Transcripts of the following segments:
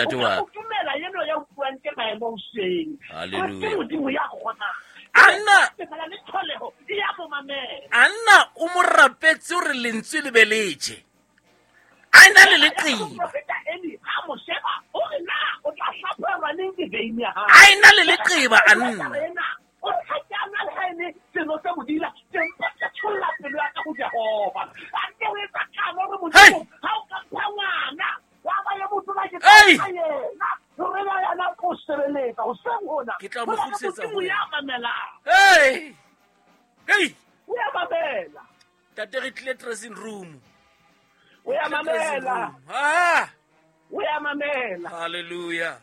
ntate wa ka. O tumela yeno ya utlwang ke maemo hoseng. Hallelujah. Ke Modimo ya kgonang. Anna Tsela le tlholeho e ya mo mamela. Anna o mo rapetse hore lentswe le be letjhe. A ena le leqeba. Moprofeta Eli ha mo sheba o re na o tla hlaphohelwa neng ke veine ya hao. A ena le leqeba Anna. Ena, o re ha ke a nwa le ha e le seno se bodila, ke mpa ke tsholla pelo ya ka ho Jehova. A nke o etsa kano hore Hey! Modimo, ha o ka mpha ngwana, wa ba le motho ba ke tla Hey! mpha yena. Hore na yena o tlo sebeletsa hoseng hona. Ke tla mo Ho na le kgutlisetsa Modimo ho ya yena. mamelang. Hey! Hey! O ya mamela. Ntate re tlile dressing room. O ya Tlile dressing mamela. room. Ah! O ya mamela. Hallelujah.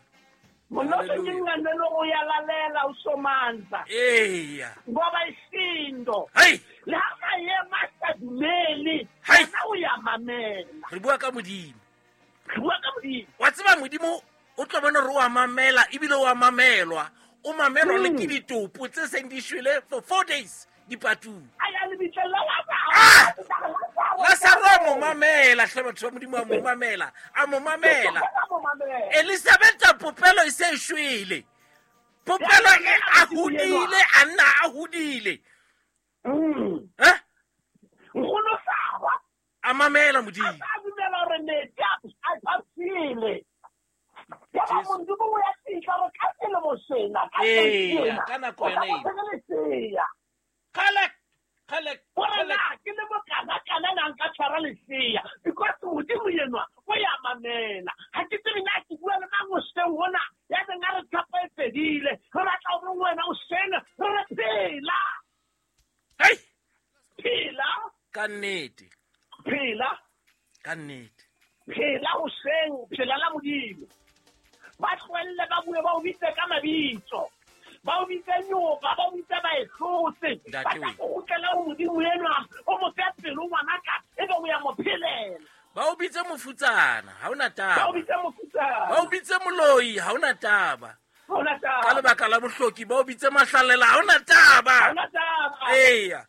Monna o Hallelujah. sengane o ya lalela o somandla. Eya. Ngoba isindo. Hey! Le ha maemo a sa dumele, Hai! yena o ya mamela. Re bua ka Modimo. Re bua ka Modimo. Wa tseba Modimo o tlo bona hore o a mamela ebile o a mamelwa. O mamelwa le ke ditopo tse seng di shwele for 4 days dipatung. A ya lebitleng la Lazaro. Ah! Lazaro a mo mamela hle batho ba Modimo a mo mamela. A mo mamela. A mo mamela. Elizabetha popelo e se e shwele. Popelo e a hodile, a nna a hodile. Eh? Nkgono Sara A mamela a Modimo. sa dumela hore metsi a pshile. Yaba Jesu. Modimo o ya fihla hore ka selemo sena, ka Eya, sena, ka nako o tla yona eo. bo lesea. Kgalek, kgalek, Hore kgalek. na ke le mokana-kana na nka tshwara lesea, because Modimo enwa o ya mamela. Ha ke tsebe na ke bua le mang hoseng hona, ya beng a re tshepo e fedile. Re batla hore wena hoseng re re phela. Hei! Phela. Ka nnete. Phela. Ka nnete. Phela hoseng, phela la Modimo. Ba tlohelle ba bue ba o bitse ka mabitso. Ba o bitse nyoka, ba o bitse ba e hlotse. Ntate Ba tla we. o kgutlela ho Modimo enwa, o mo fe pelo ngwanaka, ebe o ya mo phelela. Ba o bitse mofutsana, ha hona Ba o taba. bitse mofutsana. Ba o bitse moloi, ha hona taba. Ha hona taba. Ka lebaka la bohloki, ba o bitse mahlalela, ha hona taba. Ha hona taba. Eya,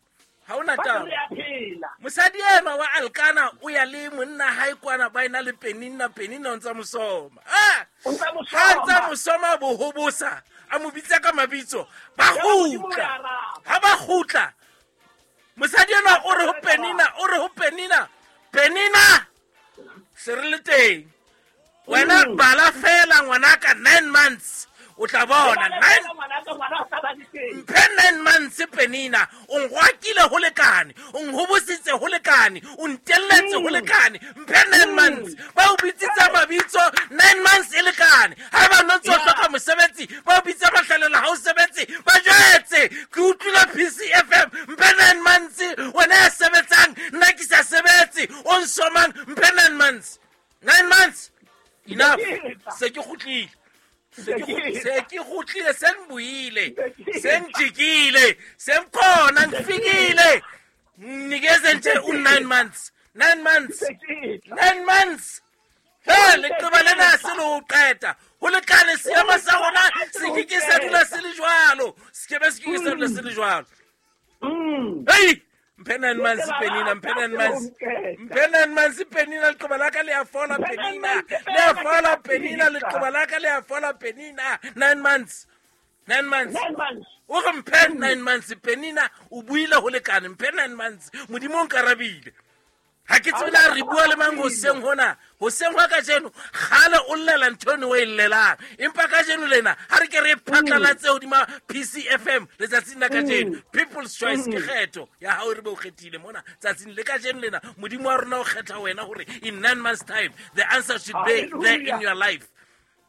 ha hona Ba taba. re a phela. Mosadi enwa wa Alkana o ya le monna hae kwana ba ena le Penina, Penina o ntsa mo soma. Ah! O ntsa mo Ha ntsa soma. mo soma bo hobosa, a mo bitsa ka mabitso, ba Yaba Modimo o kgutla. ya araba. Ha ba kgutla, mosadi enwa o re ho Penina, o re ho Penina, Penina, se re le teng. Wena bala fela ngwanaka 9 months, o tla bona Bala 9 fela ngwanaka, ngwana o sa ba le teng. mphe 9 months Penina, o ngwakile ho lekane, o nhobositse ho lekane, o ntelletse ho lekane, mphe 9 months. Ba o bitsitse mabitso 9 months e lekane. Ha eba no ntso hloka mosebetsi, ba o bitsa mahlalela ha o sebetse, ba jwetse ke utlwile PCFM, mphe 9 months, wena ya sebetsang, nna ke sa sebetse, o nsomang, mphe 9 months. 9 months. Enough. Se ke kgutlile. Se ke kgutlile, se ngibuile, se ngijikile, sengikhona, ngifikile. Nginikeze nje u9 months. 9 months. 9 months. He, leqeba lena se le ho qeta. Ho lekane seemo sa rona se ke ke sa dula se le jwalo. Se ke be se ke ke sa dula se le jwalo. Hei! Mphe 9 months Penina, mphe 9 months. Mphe 9 months Penina, leqeba la ka le a fola Penina. Le a fola Penina, leqeba la ka le a fola Penina. 9 months. 9 months. 9 months. O re mphe 9 months Penina, o buile ho lekane, mphe 9 months. Modimo o nkarabile. Ha ke tsebe na re bua le mang hoseng hona, hoseng hwa kajeno, kgale o llela ntho eno o e llelang. Empa kajeno lena, ha re ke re phatlalatse hodima PCFM letsatsing la kajeno. People's Choice ke kgetho ya hao re be o kgethile mona tsatsing le kajeno lena. Modimo wa rona o kgetha wena hore in 9 months time the answer should be there in your life.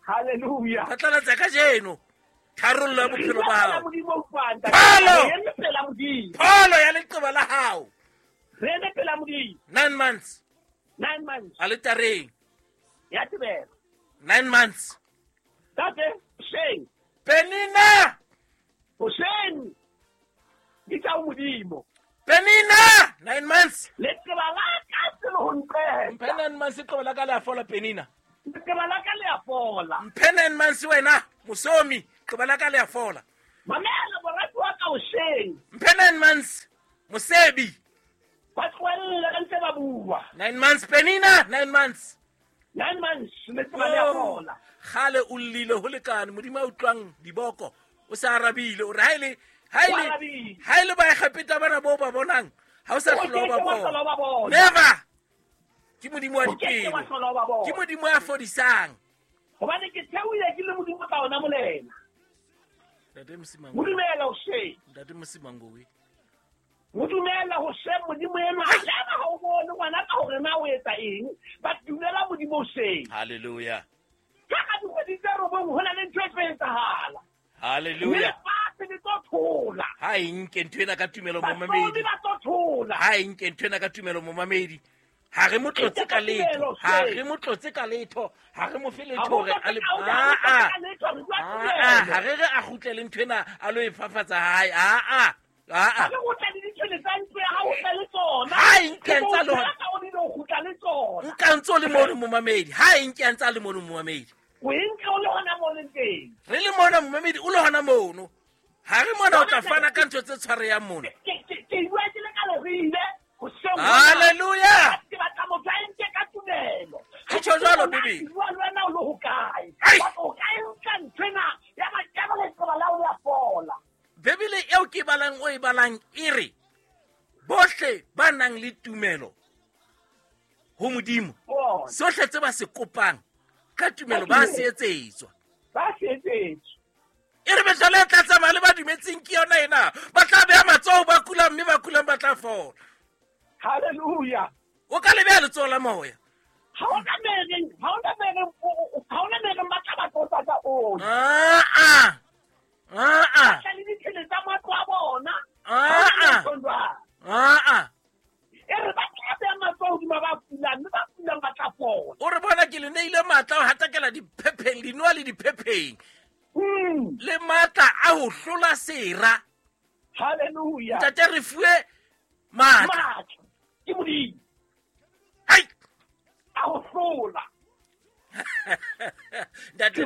Hallelujah. Phatlalatsa kajeno tharollo ya bophelo ba hao. Modimo o utlwang, Pholo! Re eme pela Modimo. Pholo ya leqeba la hao. Re eme pela Modimo. 9 months. 9 months. Aletareng. Ya tebela. 9 months. Tate, hoseng. Penina! Hoseng. Bitsa ho Modimo. Penina! 9 months. Leqeba la ka se le ho nqeta. Mphe 9 months leqeba la ka le a fola Penina. Leqeba la ka le a fola. Mphe 9 months wena, mosomi, leqeba la ka le a fola. Mamela morati wa ka hoseng. Mphe 9 months, mosebi. Ba tlohelle ba ntse ba bua. 9 months Penina, 9 months. 9 months leqeba le a fola. Gale o llile ho lekane, Modimo a utlwang diboko, o sa arabile, o re ha ile ba Egepeta bana bo ba bonang, ha o sa hlola ba bona. Never. Ke Modimo wa dipelo. Ke Modimo a fodisang. Hobane ke theoile ke le Modimo ka ona molena. Ntate Msimango. Modumela o she. Ntate Msimango we. Modumela ho she Modimo enwa. Ha o bone ngwana ka hore na o etsa eng, ba dumela Modimo o she. Hallelujah. Ka ka dikgwedi tse robong ho na le ntho e tlo etsahala. Hallelujah. Lefatshe le tlo thola. Ha e nke ntho ena ka tumelo momamedi. Ba tlo thola. Ha e nke ntho ena ka tumelo momamedi. Ha re mo tlotse ka letho. Ha re mo tlotse ka letho. Ha re mo fe letho hore a le a. Ha re re a kgutlele ntho ena a lo e fafatsa hae. A. Ha re kgutle le ditshwele tsa ntlo ya hao o le tsona. Ha e nke ntsa le hona. O le tsona. Nka ntso le mono momamedi. Ha e nke ntsa le mono momamedi. O e nke o le hona mono teng. Re le mona momamedi o le hona mono. Ha re mona o tla fana ka ntho tse tshwareyang mono. Ke bua ke le ka lerile. Hallelujah. Ke batla motho a nke ka tumelo. Ke tjho jwalo Bibele. Bua le wena o le hokae? O ka e nka nthwena ya ba ya ba leqeba la o ya fola. Bibele eo ke balang o e balang e re bohle ba nang le tumelo ho Modimo sohle tse ba se kopang ka tumelo ba se etsetswa. Ba se etsetswa. E re mehlala e tla tsamaya le ba dumetseng ke yona ena. Ba tla beha matsoho ba kulang mme ba kulang ba tla fola. Hallelujah. O ka le beha letsoho la moya. Ha ona mereng ba tla ba tlotsa ka oli. A. Ba le ditshele tsa matlo a bona. A. E re ba tla beha matsoho hodima ba kulang mme ba kulang ba tla fola. O re bona ke le neile matla ho hatakela diphepheng, dinoha le diphepheng. Le matla a ho hlola sera. Hallelujah. Ntate re fuwe matla. Ke Modimo. Hai. A ho hlola. Ntate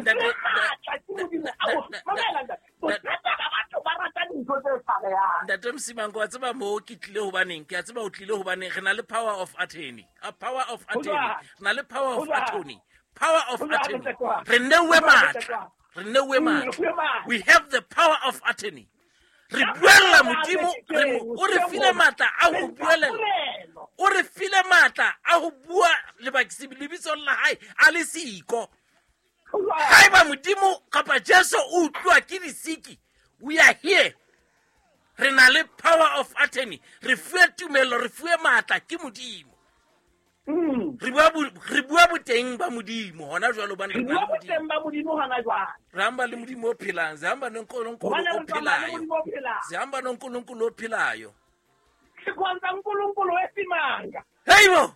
Ntate Msimango wa tseba mo ke tlile hobaneng, ke a tseba o tlile hobaneng re na le power of attorney. A power of attorney. Re na le power of attorney. Power of attorney. Re neuwe matla. Re neuwe matla. We have the power of attorney. Re buella Modimo, o re file matla a ho buelela. O re file matla a ho bua lebitsong la hae a le siko. Haeba Modimo kapa Jesu o utlwa ke disiki, we are here. Re na le power of attorney. Re fuwe tumelo, re fuwe matla ke Modimo. Re bua boteng ba Modimo hona jwalo bana re bua boteng ba Modimo hona jwale. Re hamba le Modimo o phelang, se hamba noNkulunkulu o phelayo. Se hamba noNkulunkulu o phelayo. Sikhonza uNkulunkulu wesimanga. Heibo.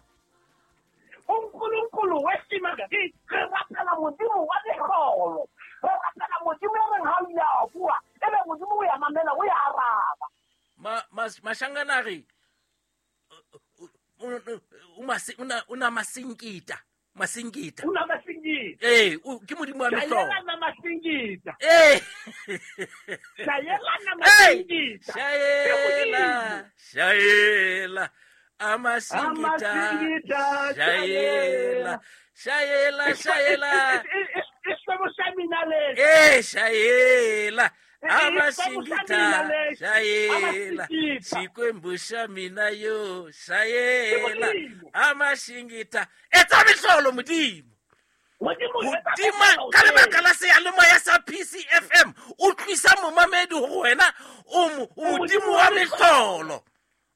uNkulunkulu wesimanga. Re rapela Modimo wa mehlolo. Re rapela Modimo e reng ha o ile a bua, ebe Modimo o ya mamela, o ya araba. Mashangana re una masingita. Masingita. Una masingita. Ke Modimo wa mehlolo. Shayela masingita. Shayela masingita. Shayela. Amasingita. Shayela. Shayela. Shayela. Amasingita. Shayela. Xikwembu xa mina yo. Shayela. Amasingita. Etsa mehlolo Modimo. Modimo ka lebaka la seyalemoya sa PCFM o tlisa momamedi ho wena o Modimo wa mehlolo.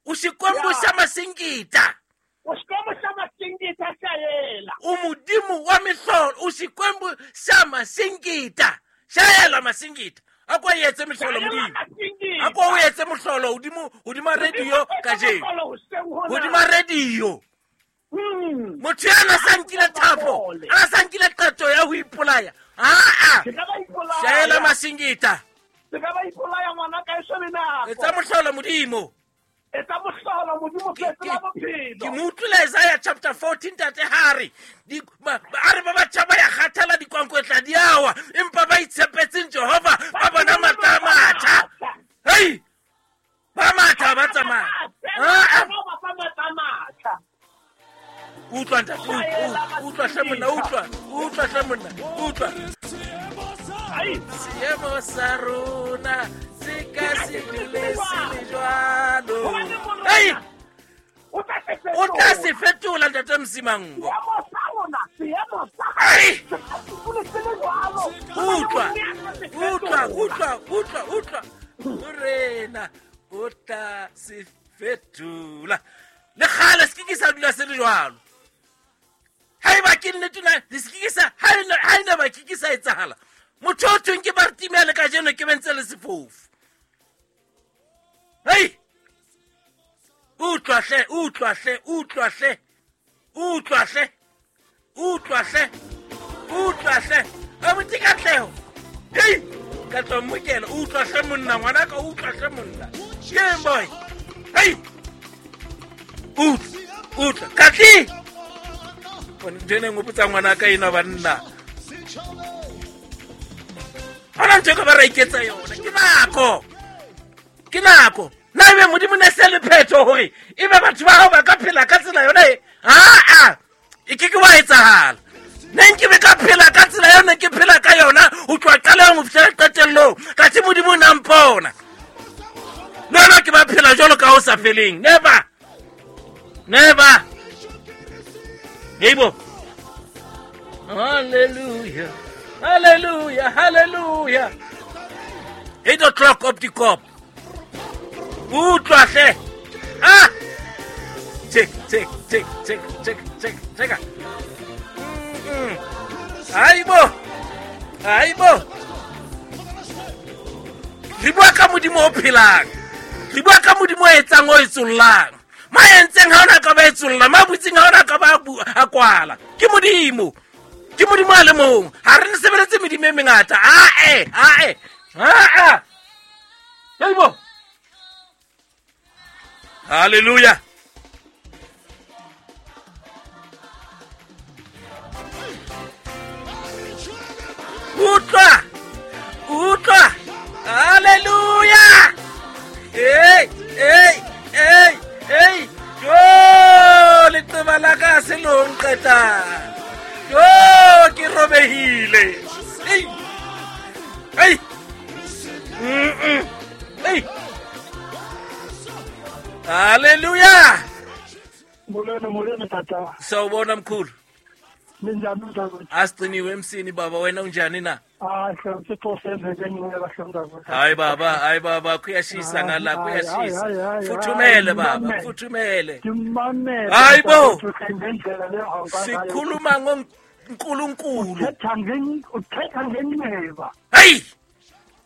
O xikwembu xa masingita. O xikwembu xa masingita shayela. O Modimo wa mehlolo, o xikwembu xa masingita. Shayela masingita. Akwa yetse mehlolo Modimo. Akwa o yetse mohlolo hodimo hodima radio kajeno. Hodima radio. Motho yana sa nkile thapo, a sa nkile qeto ya ho ipolaya. A. Shayela masingita. Se ka ba ipolaya ngwana ka e shebe nako. Etsa mohlolo Modimo. Etsa mohlolo Modimo fetola bophelo. Ke mo utlwile Isaiah chapter 14 tate hare. A re ba batjha ba ya kgathala dikwankwetla di awa, empa ba itshepetseng Jehova ba bona matla a matjha. Hei! Ba matha ba tsamaya. Utlwa ntate, utlwa hle monna, utlwa, utlwa hle monna, utlwa. Seemo sa rona se ka se dule se le jwalo. Ei! O tla se fetola ntate Msimango. Utlwa, utlwa, utlwa, utlwa, utlwa. Morena o tla se fetola. Le kgale se ke sa dula se le jwalo. Haeba ke nnete na le se ke sa ha ena ba ke sa etsahala. Motho o thweng ke Bartimea le kajeno ke bentse le sefofu. Hei! Utlwa hle, utlwa hle, utlwa hle. Utlwa hle. Utlwa hle. Utlwa hle. Abuti Katleho. Hei! Ka tlo mmokela, utlwa hle monna, ngwanaka, utlwa hle monna. Ke boy. Hei! Utlwa, utlwa. Katli! Ntho ena e ngopotsa ngwanaka ena banna. Hona ntho e ka ba ra iketsa yona. Ke nako. Ke nako. Na ebe Modimo ne se le phetho hore ebe batho ba hao ba ka phela ka tsela yona e? Aa! E ke ke wa etsahala. Ne nke be ka phela ka tsela yona ke phela ka yona ho tloha qalehong ho fihlela qetellong. Kathe Modimo o ne a mpona. Le yona ke ba phela jwalo ka ho sa feleng. Never. Never. Heibo. Hallelujah. Hallelujah. Hallelujah. 8 o'clock op die kop. Utlwa hle. Ah! Check, check, check, check, check, check, check. Haibo. Haibo. Re bua ka Modimo o phelang. Re bua ka Modimo o etsang o etsollang. Ma entseng ha ona ka ba etsolla, ma butseng ha ona ka ba a kwala. Ke Modimo. Ke Modimo a le mong. Ha re sebeletse medimo e mengata. Ae, ae. Aa. Haibo. Hallelujah. Utlwa. Utlwa. Hallelujah. Hey, hey, hey, hey. Jo, leqeba la ka se lo nqeta. Jo, ke robehile. Hey. Hey. Hey. Hallelujah. Molweni, molweni tata. Sawubona mkhulu. Ninjani mntakwethu? Asigciniwe emsini baba, wena unjani na? Hayi, Thixo senze ngenxa kahle mntakwethu. Hayi baba, hayi baba, kuyashisa ngala, kuyashisa. Futhumele baba, futhumele. Ngimamele. Hayi bo. Ngendlela le hamba ngayo. Sikhuluma ngoNkulunkulu. Uthetha ngenxeba. Hey!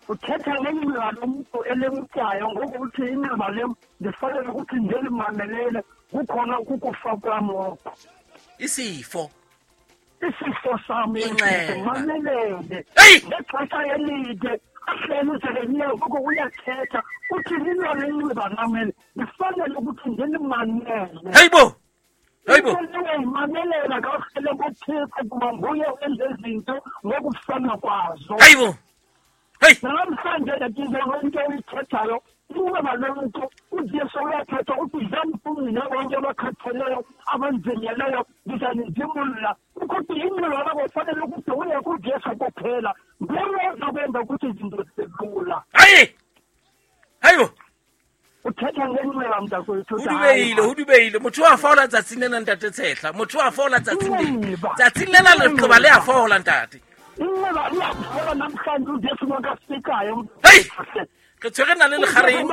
Uthetha ngenxeba lomuntu elemtyayo ngokuthi inxeba lem ndifanele ukuthi ndilimamelele kukhona ukukufa kwam oko. Isifo. Isifo sami mamelele. Ngexesha elide ahleli uJeremiya ngoko uyathetha uthi lilona inxeba lam eli ndifanele ukuthi ndilimamele. Hayibo. Hayibo. Mamelela kakuhle kuThixo kuba nguye wenza izinto ngokufana kwazo. Hayibo. Hey. Namhlanje ndatize into oyithethayo inxeba lomntu uJesu uyathetha uthi dlani nina bonke abakhatheleyo abanzinyeleyo ndizanizimula. Ukuthi inxeba lakho kufanele ukuthi uye kuJesu kuphela nguye ozakwenza ukuthi izinto zibe lula. Hayi. Hayibo. Uthetha ngenxeba mntakwethu. O dubeile motho wa fola tsatsing lena ntate Tshehla. Motho wa fola tsatsing lena. Tsatsing lena leqeba le a fola ntate. Inxeba liyafola namhlanje uJesu makafikayo. Hey! Re tshwere na le lekgareng.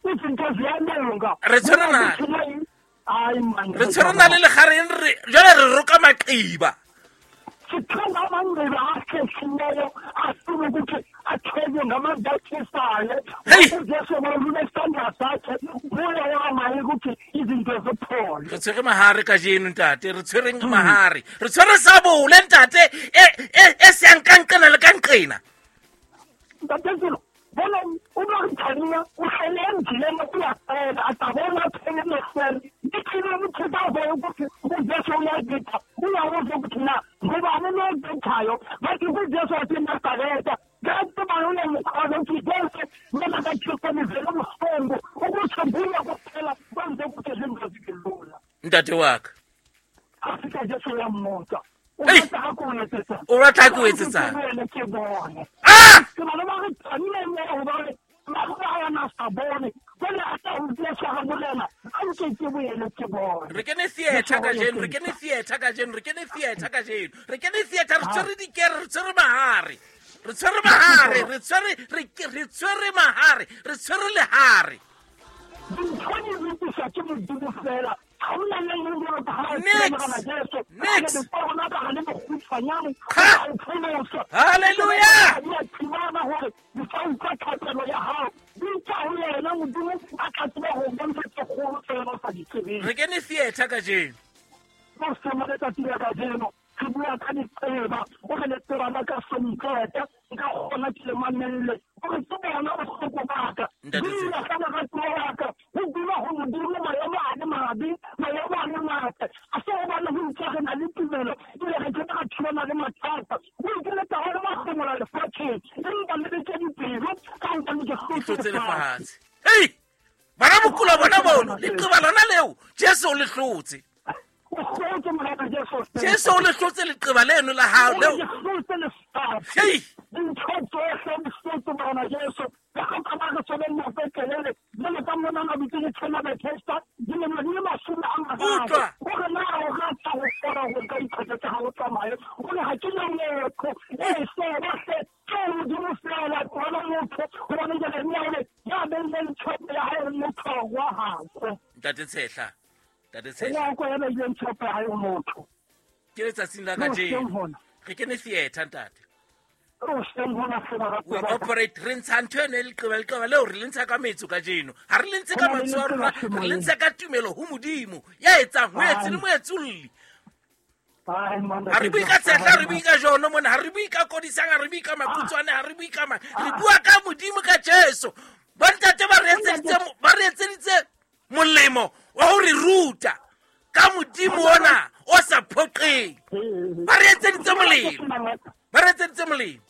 Izinto ziyalunga. Re tshwere na. Hayi man. Re tshwere na le lekgareng re jwale re roka maqiba. Sithanda amanxeba ahlehlileyo afuna ukuthi athwelwe ngamandla atshisayo. UJesu walula isandla sakhe nguye owamayo ukuthi izinto ziphole. Re tshwere mahare kajeno ntate, re tshwereng mahare. Re tshwere sabole ntate e seyang ka nqena le ka nqena. Ntate Zulu, bona uMaritania uhlele endleleni uyafela atabona athele emehlweni. Ithini ukuthi babe ukuthi uJesu uyagida uyawuza ukuthi na ngubani lo ogithayo bathi uJesu wathi Nazareta kanti bani uyamkholwa ukuthi Jesu noma kaThixo nivele ubuhlungu ukuthi nguye kuphela kwenze ukuthi izinto zibe lula. Ntate wa ka. mmotsa. O batla ha ko etsetsa. O batla ha ko etsetsa. Ke bone. Ah! Ke bana ba re tsamile mo ho ba re ba ba na sa bone. Jwale a tla utlwa tshwara morena, a nke ke boele ke bone. Re kene theatre kajeno, re kene theatre kajeno, re kene theatre kajeno. Re kene theatre, re tshwere dikere, re tshwere mahare. Re tshwere mahare, re tshwere re tshwere mahare, re tshwere lehare. Dintho di lokiswa ke Modimo fela. Ha hona le e leng ka ha Next. Jesu. Next. Le rona ka le mokgutshwanyane. Ha! O pholosa. Hallelujah! Di a thibana hore di tla utlwa thapelo ya hao. Di tla ho yena Modimo a tla tseba ho bontsha tse kgolo tse wena o sa di tsebeng. Re kene theatre kajeno. Mo sema letsatsi la kajeno re bua ka ditseba, o re letseba la ka somqeta, nka kgona ke le mamelle. O re ke bona bohloko ba ka. Ntate Dula ka lerato la ka, ho dula ho Modimo maemo a le mabe, maemo a le matle. A se hobane ho ntse re na le tumelo, ebile re ke ra thulana le mathata. O ikiletsa ho le mahlomola lefatsheng, empa le beke dipelo ka hobane ke Ke hlotse hlotse lefatshe. lefatshe. Hei! Bana bokula bona bono, leqeba lona leo, Jesu o le hlotse. O hlotse Morena Jesu. Jesu o le hlotse leqeba leno la hao O leo. le hlotse lefatshe. Hei! Dintho tsohle di hlotse Morena Jesu. Ka ha ka ba re tshwere nako e telele, jwalo ka mona na bitse le tshwana Bethesda, dilemo di le 30. Utlwa. O re na o rata ho kgona ho nka diphoso tsa hao o tsamaye. O re ha ke na motho. E seba hle, ke Modimo feela, tlohela motho, hobane jwale nna o re, ya beileng tshepo ya hae ho motho wa hae. Ntate Tshehla. Ntate Tshehla. Ho kwa ya beileng tshepo ya hae ho motho. Ke letsatsing la Ke hoseng kajeno. hona. Re kene theatre ntate. Ke hoseng hona feela We ratuwa ba ka. operate re ntsha ntho eno e leqeba leqeba leo re le ntsha ka metso kajeno. Ha re le ntshe Ho ka na le mantswe a leqeba rona, re le semoyeng. ntsha ka tumelo ho Modimo. Ya etsang, ho etse le Ai. moetsolli. Ai, monna, Ha re ke bue ka jwang? Tshehla, ha re bue ka Jono mona, ha re bue ka Kodisang, ha re bue ka Makutswane, ha re bue ka mang. Re bua ka Modimo ka Jesu. Bontate ba re etseditse ba re etseditse molemo wa ho re ruta ka Modimo ona o sa phoqeng. Ba re etseditse molemo. Ba re etseditse molemo.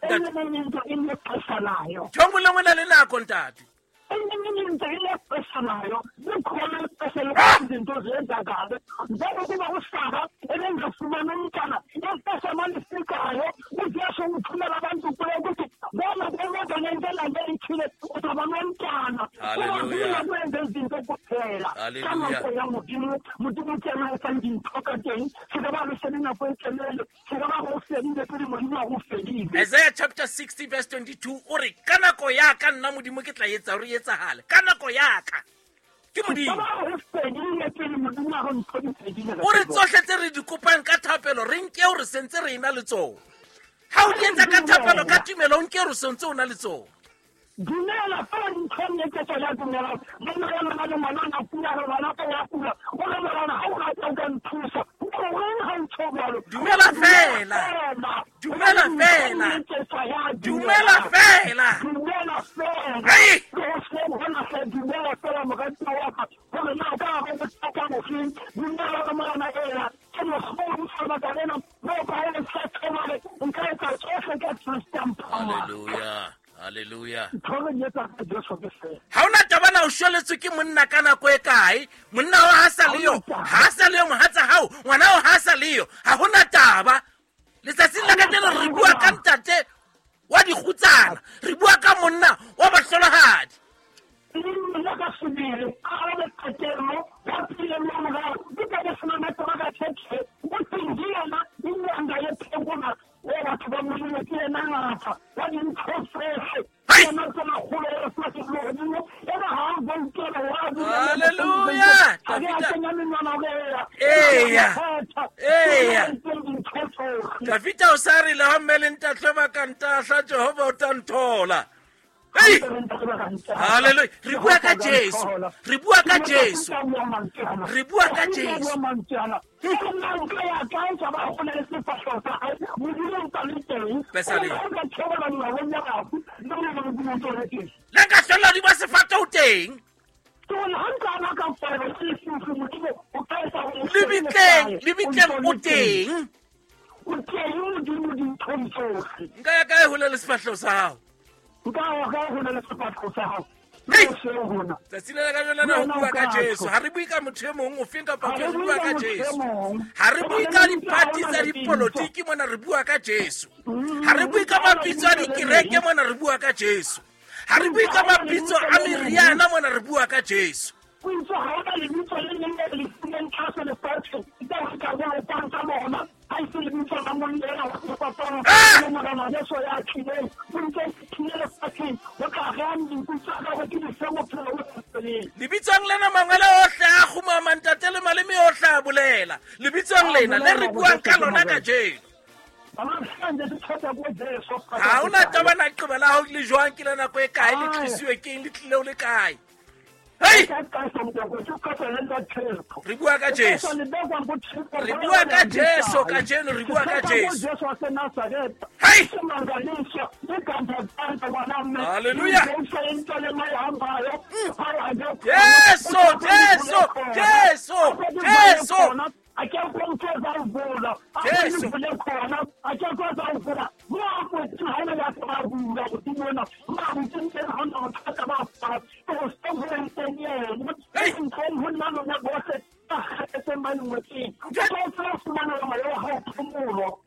Enye into inexesha layo. Ntho e nngwe le nngwe e na le nako ntate. Enye into inexesha layo. Likhona ixesha lokuthi izinto ziyenzakale. Njengokuba uSara ebengafumani umntwana, ixesha malifikayo uJesu uthumela abantu kuye ukuthi bona kwenza ngento elande ithile uzaba nomntwana. Hallelujah. Ungakwenza izinto kuphela. Ka Hallelujah. nako ya Modimo, Modimo ke yena a etsang dintho ka teng. Se ka ba re sele nako e telele, se ka ba re o fedile pele Modimo a go fedile. Isaiah chapter 60 verse 22 o re ka nako ya ka nna Modimo ke tla etsa hore e etsahale. Ka nako ya ka. Ke Se ka Modimo. ba re fedile pele Modimo a re ntho di fedile. O re tsohle tse re di kopang ka thapelo re nke hore sentse re ena le tsona. Ha o di etsa ka thapelo ka tumelo o nke hore sentse o na le tsona. Dumela fela dinthong e ke tsona dumela. Monna ya lona le ngwana a kula, re ngwana ka ya kula. O re morena ha o rata o ka nthusa. O re reng ha o tjho jwalo? Dumela fela. Dumela Dumela fela. fela. Hobane dinthong e ke tswa ya Dumela dumela. fela. Dumela fela. Hei! Le hoseng hona hle dumela fela moratuwa wa ka. Hore na o ka re bothata bofeng? Dumela hore morena ena ke mokgolo sa baka lena. Moo ka e sa tshwana, nka etsa tsohle ka Kreste a mphang. Hallelujah. Hallelujah. Ntho re di etsang ka Jesu ke fela. Ha hona taba na o shweletswe ke monna ka nako e kae? Monna wa ha sa le yo, ha sa le yo mohatsa hao, ngwana wa ha sa le yo. Ha hona taba. Letsatsing la kajeno re bua ka ntate wa dikgutsana, re bua ka monna wa bahlolohadi. Nna ka sebele, a arabe qetello, ya phile mo morao, ke tla be sena matlo a ka tjhe, o teng ke yena, inyanga e phekola, o batho ba Modimo ke yena ngaka, wa dintho tsohle. Ke Hai! yena tse makgolo e lefatshe le lehodimo, ena ha a boutela, wa dula le Hallelujah! Ha ke a Davida. kenya menwana hore eya, Eya. kgetha, ke yena Eya. a entseng dintho tsohle. Davida o sa re le ha mme le ntatlwe ba ka ntahla, Jehova o tla nthola. Hei! Hallelujah. Re bua ka Jesu. Re bua ka Jesu. Re bua ka Jesu. Pesaleng. Le nka hlolla hodima sefate o teng. Lebitleng, lebitleng o teng. Nka ya kae hole le sefahleho sa hao? Nka ya kae hole le sefahleho sa hao? Tsatsing la kajeno lena ho bua ka Jesu. Ha re bue ka motho e mong o feng kapa re bua ka Jesu. Ha re bue ka dipati tsa dipolotiki mona, re bua ka Jesu. Ha re bue ka mabitso a dikereke mona, re bua ka Jesu. Ha re bue ka mabitso a meriana mona, re bua ka Jesu. Lebitsong lena mangwele ohle a kgumama, ntate, le maleme ohle a bolela lebitsong lena le re buang ka lona kajeno. Ha hona taba na qeba la hao le jwang, ke la nako e kae, le tlisiwe keng, le tlile o le kae. Hey! Re bua ka Jesu. Re bua ka Jesu kajeno, re bua ka Jesu. Hey! Hallelujah. Jesu, Jesu, Jesu, Jesu. Jesu.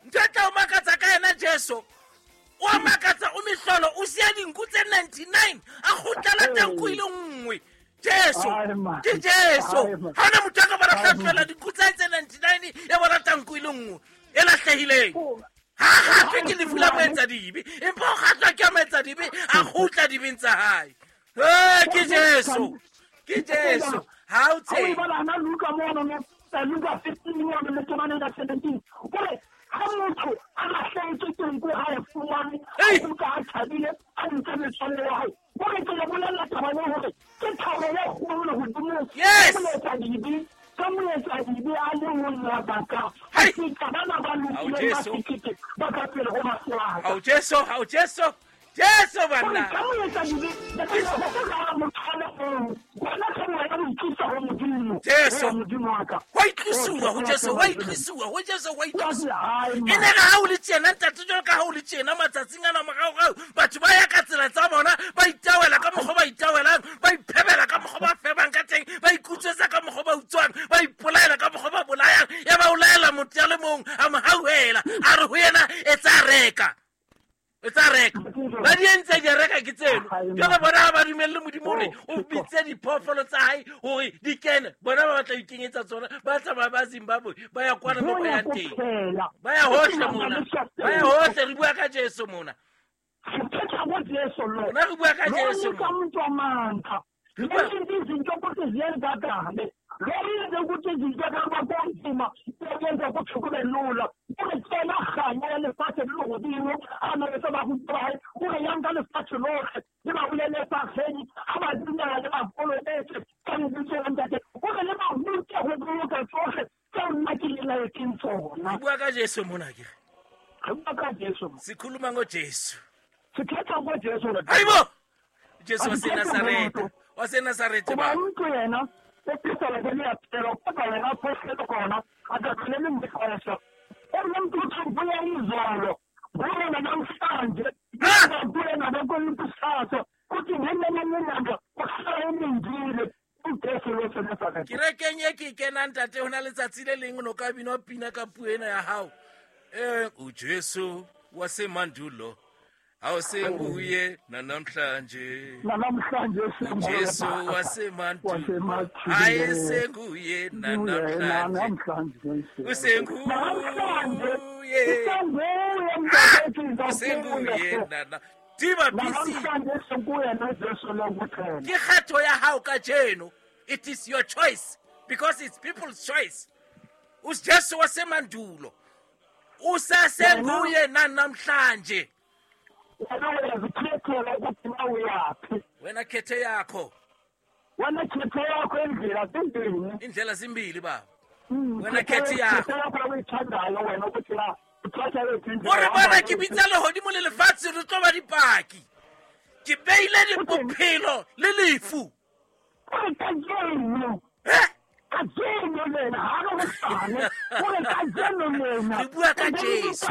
Ntho e tla o makatsa ka yena Jesu, o a makatsa, o mehlolo, o siya dinku tse 99 a kgutlela teng e le nngwe. Jesu ke Jesu. Ha ona motho a ka bona hlatlwela dinku tsa tse 99 ya bona tanku e le nngwe e lahlehileng. Ha kgatlwe ke lefu la moetsadibe, empa o kgatlwa ke a moetsadibe a kgutla dibeng tsa hae. Ee, ke Jesu, ke Jesu. Ha o tsebe Luka mono, Luka 15 mono le temaneng ya 17, ore ha motho a lahlehetswe ke nku, ha e fumane, a kgutla a thabile, a ntse metswalle ya hae. Ore ke le bolella taba le hore ke thabo e kgolo lehodimong moetsadibe ka moetsadibe a le mong wa baka, feta bana ba lokileng ba sekete ba ka pele ho mahlaka. Ao Jesu, ao Jesu, Jesu banna. Ka moetsadibe motho a le mong, wena ka wena o itlisa ho Modimo. Jesu. Modimo wa ka. Wa itlisiwa ho Jesu, wa itlisiwa ho Jesu, wa itlisiwa. E ne re ha o le tjena, ntate, jwalo ka ha o le tjena matsatsing ana moraorao, batho ba ya ka tsela tsa bona, ba itawela ka mokgwa ba itawelang, ba iphebela ka mokgwa ba febang ka teng, ba ikutswetsa ka mokgwa ba utswang, ba ipolaela ka mokgwa ba bolayang. Ya ba o laela motho ya le mong, a mo hauhela, a re ho yena, etsa reka, etsa reka. Ba di entse di reka ke tseno. Jwale bona ha ba dumelle Modimo hore o bitse diphoofolo tsa hae hore di kene, bona ba batla ho ikenyetsa tsona, ba tsamaya ba Zimbabwe, ba ya kwana mo ba yang teng, ba ya hohle mona, ba ya hohle. Re bua ka Jesu mona. Rona re bua ka Jesu mona. Izinto ukuthi ziyenzakale, loyenze ukuthi izinto kaba kunzima, yenza ukuthi kube lula. Ore tsena kganya ya lefatshe le lehodimo a na le tse ba rutwa hae, ore yang ka lefatshe lohle le ba bolele evangeli, ha ba dumela le ba kolobetse ka lebitso la Ntate, ore le ba rute ho boloka tsohle tseo nna ke le laetseng tsona. Re bua ka Jesu mona ke. Re bua ka Jesu. Sikhuluma ngoJesu. Sithetha ngoJesu. Hayibo! Jesu waseNazaretha. WaseNazaretha ba. Untlo yena o phela le ya phela, kodwa yena phohlelo khona akakheleli ngixesha. Umuntu uthi ubuya izolo, buya namhlanje, buya nabakwelikusasa, kuthi ngenye ilanga uhlala elindile uJesu loseNazaretha. Kerekeng e ke kenang, ntate, ho na letsatsi le leng no ka binwa pina ka puo ena ya hao. UJesu wasemandulo awusenguye nanamhlanje. Namhlanje. Jesu wasemandulo ayesenguye nanamhlanje, usenguye, usenguye nana Diba BC. Ke kgetho ya hao kajeno. It is your choice because it's people's choice. UJesu wasemandulo usasenguye nanamhlanje. Wena uyazikhethela ukuthi na uyaphi. Wena khethe yakho. Wena khethe yakho, indlela zimbini. Indlela zimbili baba. Wena khethe yakho. Yakho uyithandayo wena ukuthi la uthatha yiphi indlela. Ore bona ke bitsa lehodimo le lefatshe re tlo ba dipaki. Ke beile bophelo le lefu. Ore kajeno. Kajeno lena ha re hosane. Ore kajeno lena. Re bua ka Jesu.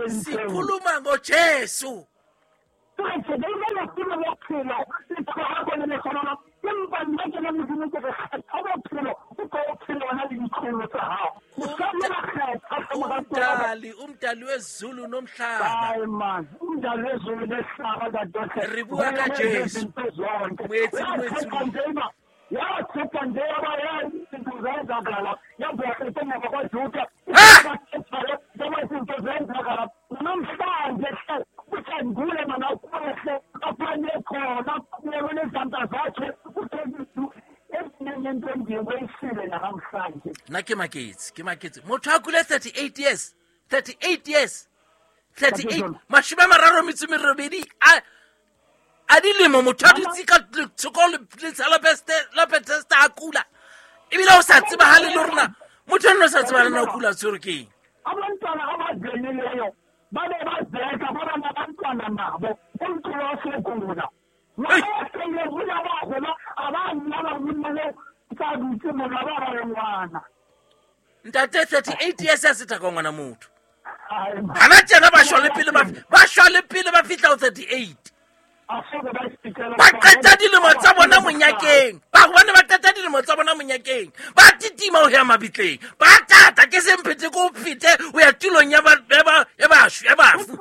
Sikhuluma ngoJesu. Umdali wezulu nomhlaba. Hayi man, umdali wezulu nomhlaba dadodle. Re bua ka Jesu. Moetsi ya tshepa nje ya izinto zenzakala yabhohle kwaJuda izinto zenzakala namhlanje uthengule mana ukwehle aphanye khona kunezandla zakhe uthengile ezinento engiyisile namhlanje. Nna ke maketse motho a kule 38 years 38 years 38 38 a dilemo motho a dutse ka thoko letsha la Bethesda a kula ebile o sa tsebagale le rona motho eno o sa tsebagale na o kula tshwere ke eng. Abantwana abazenileyo babe bazeka baba nabantwana nabo umntu wasegula Ntate 38 years a seta ka ngwana motho gana tjena ba shwa le pele ba fihla ho 38. Ba qeta dilemo tsa bona monyakeng, ba gobane ba qeta dilemo tsa bona monyakeng, ba titima ho ya mabitleng, ba tata ke semphete ko fete o ya tulong ya bafu.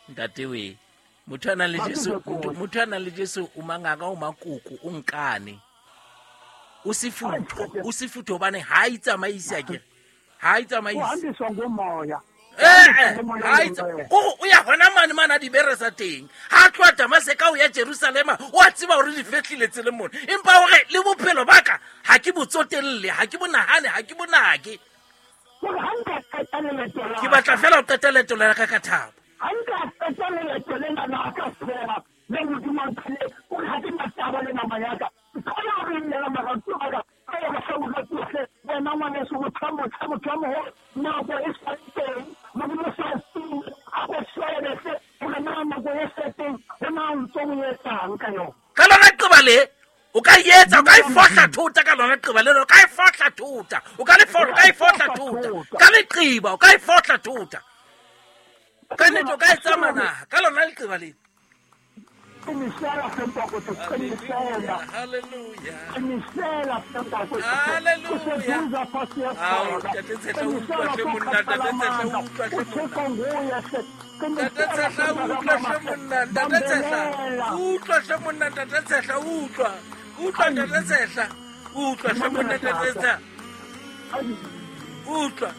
Ntate we motho a nang le Jesu o mangaka o makoko o nkane o sefutho hobane ha itsamaise akere ha itsamaise o ya hona mane mana dibere sa teng ha tloha Damaseka o ya Jerusalema o a tseba hore di fehlile tsele mona empa hore le bophelo ba ka ha ke botsotelle ha ke bonahane ha ke bonake ke batla fela ho qeta leeto la ka ka thabo. Ka lona qeba le o ka etsa o ka e fohla thota ka lona qeba le o ka e fohla thota o ka le fohla e fohla thota ka leqeba o ka e fohla thota ka nnete o ka e tsamaya naha ka lona leqeba le. Utlwa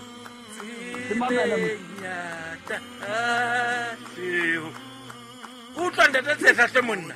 utlwa ntate Tshehla hle monna.